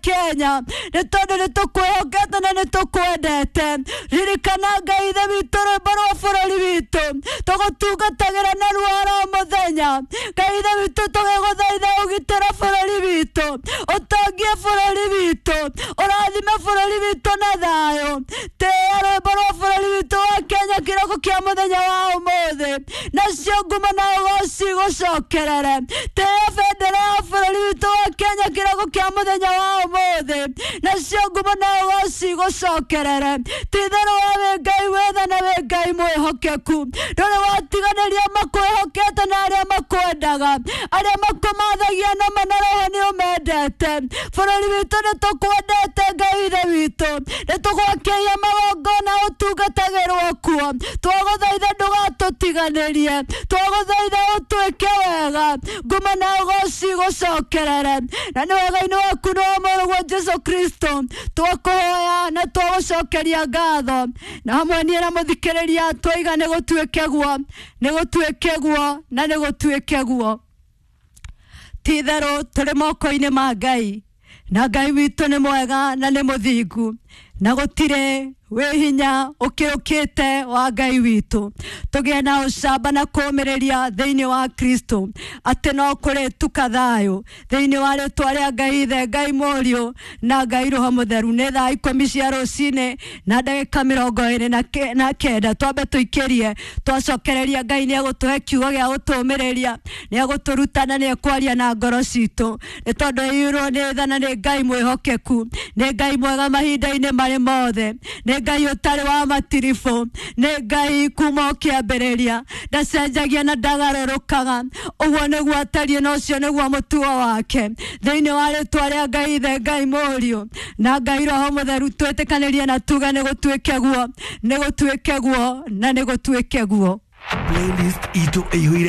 Kenya nĩ tondũ nĩ tũkwĩhokete na nĩ tũkwendete. Ririkana Ngai Ithe witũ rwĩmbo rwa bũrũri witũ tũgũtungatagĩra narua oro mũthenya. Ngai Ithe witũ, tũgĩgũthaitha ũgitĩre bũrũri witũ, ũtongie bũrũri witũ, ũrathime bũrũri witũ na thayũ. Tĩĩa rwĩmbo rwa bũrũri witũ wa Kenya kĩroko kĩa mũthenya wa ũmũthĩ, nacio ngumo na ũgoci gũcokerere. Tĩĩa bendera ya bũrũri witũ wa Kenya kĩroko kĩa mũthenya wa ũmũthĩ, nacio ngumo na ũgoci gũcokerere. Ti-itherũ we wĩ Ngai wĩ tha na wĩ Ngai mwĩhokeku, ndũrĩ watiganĩria makwĩhokete na arĩa makwendaga, arĩa makũmathagia na ma na roho nĩ ũmendete. Bũrũri witũ nĩ tũkwendete Ngai Ithe witũ, nĩ tũgwakĩire magongona ũtungatagĩrwo kuo. Twagũthaitha ndũgatũtiganĩrie, twagũthaitha ũtwĩke wega, ngumo na ũgoci gũcokerere. Na nĩ wega-inĩ waku nĩ wa Mũrũguo Jesu Kristo twakũhoya na twagũcokeria ngatho, na hamwe niĩ na mũthikĩrĩria twaiga nĩ gũtuĩke guo, nĩ gũtuĩke guo, na nĩ gũtuĩke guo. Ti-itherũ tũrĩ moko-inĩ ma Ngai, na Ngai witũ nĩ mwega na nĩ mũthingu, na gũtirĩ wĩ hinya ũkĩrũkĩte wa Ngai witũ. Tũgĩe na ũcamba na kũũmĩrĩria thĩinĩ wa Kristo atĩ no kũrĩtuka thayũ thĩinĩ wa rĩtwa rĩa Ngai Ithe, Ngai Mũriũ na Ngai Roho Mũtheru. Nĩ thaa 10 cia rũcinĩ na ndagĩka 29. Twambe tũikĩrie, twacokereria Ngai nĩ egũtũhe kiugo gĩa gũtũũmĩrĩria, nĩ egũtũruta na nĩ ekwaria na ngoro citũ, nĩ tondũ aiyũirwo nĩ tha na nĩ Ngai mwĩhokeku, nĩ Ngai mwega mahinda-inĩ marĩ mothe, nĩ Ngai ũtarĩ wa matiribũ, nĩ Ngai kuma o kĩambĩrĩria, ndacenjagia na ndagarũrũkaga. Ũguo nĩguo atariĩ na ũcio nĩguo mũtugo wake. Thĩinĩ wa rĩtwa rĩa Ngai Ithe, Ngai Mũriũ na Ngai Roho Mũtheru, twĩtĩkanĩrie na tuge nĩ gũtuĩke guo, nĩ gũtuĩke guo, na nĩ gũtuĩke guo. Playlist itũ ĩihũire.